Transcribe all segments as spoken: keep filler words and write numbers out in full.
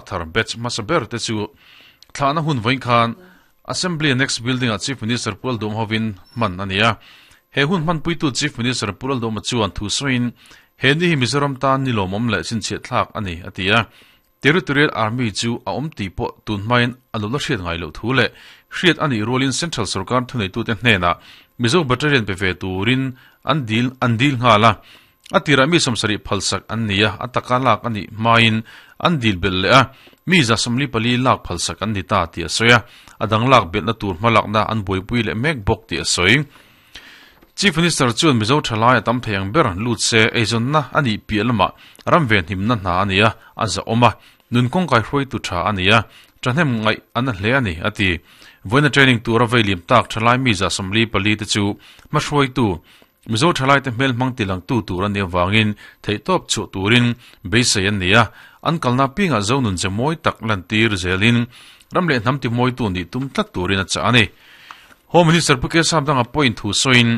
thar batch hmasa ber te chu thlahna hun vawiin khan Assembly Annex Building ah Chief Minister Pu Lalduhoma hovin hman a ni a. He hun hmanpuitu Chief Minister Pu Lalduhoma chuan thu sawiin he ni hi Mizoram tan ni lawmawm leh chhinchhiah thlak a ni a ti a. Territorial Army chu a awm tih pawh tun hmain a lo la hriat ngai loh thu leh hriat a nih rualin Central Sorkar thuneitute hnenah Mizo Battalion pe ve turin an dil an dil nghal a. A tirah mi sawmsarih phalsak an ni a, a taka lak a nih hmain an dil belh leh a, mi za sawmli pali lak phalsak an ni ta tih a sawi a, a dang lak belhna tur hmalakna an buaipui leh mek bawk tih a sawi. Chief Minister chuan Mizo thalai a tam thei ang ber lut se eizawnna a nih piah lamah ram venhimna hna a ni a, a zahawm a, nun kawngkai hruaitu tha a ni a, thahnem ngaih a na hle a ni, a ti. Vawiina training tura veilim tak thalai mi za sawmli pali te chu hmahruaitu Mizo thalaite hmel hmang tilangtu tur a nih avangin theihtawp chhuah turin beisei an ni a, an kalna pingah zo nun che mawi tak lantir zelin ram leh hnam timawitu nih tum tlat turin a chah a ni. Home Minister Pu Kesam danga pawhin thu sawiin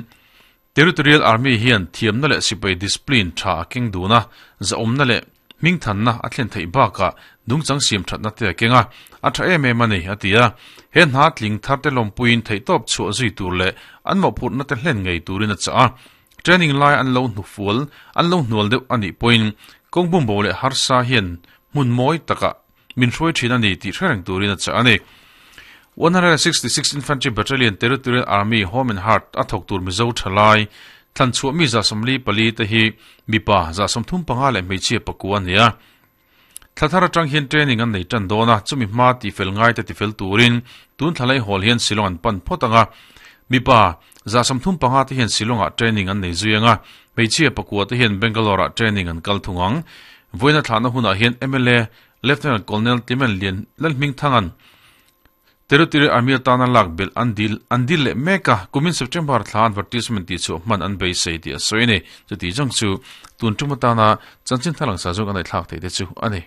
Territorial Army hian thiamna leh sipai discipline tha a keng dun a, zahawmna leh hmingthanna a thlen theih bakah dungchang siam thatna te a keng a, a tha em em a ni, a ti a. He hna tling tharte lawmpuiin theihtawp chhuah zui tur leh an mawhphurhna te hlen ngei turin a chah a. Training lai an lo hnufual, an lo hnual deuh a nih pawhin kawng bumbo leh harsa hian hmun mawi takah min hruai thin a ni tih hre reng turin a chah a ni. one hundred and sixty six Infantry Battalion Territorial Army Home and Heart a thawk tur Mizo thalai thlanchhuah mi za sawmli pali te hi mipa za sawmthum panga leh hmeichhia pakua a ni a. Thla thar atang hian training an nei tan dawn a, chumi hma tifel ngai te tifel turin tun thlalai hawl hian Shillong an pan phawt ang a. Mipa za sawmthum panga te hian Shillong ah training an nei zui ang a, hmeichhia pakua te hian Bangalore ah training an kal thung ang. Vawiina thlahna hunah hian M L A Lieutenant Colonel Timen Lian Lalhmingthangan Territorial Army atana lak belh an dil an dil leh mek a, kumin September thla advertisement tih chhuah hman an beisei tih a sawi a ni. Chuti zawng chu tun tum atana chanchin thalang sa zawng a ngaihthlak theih te chu a ni.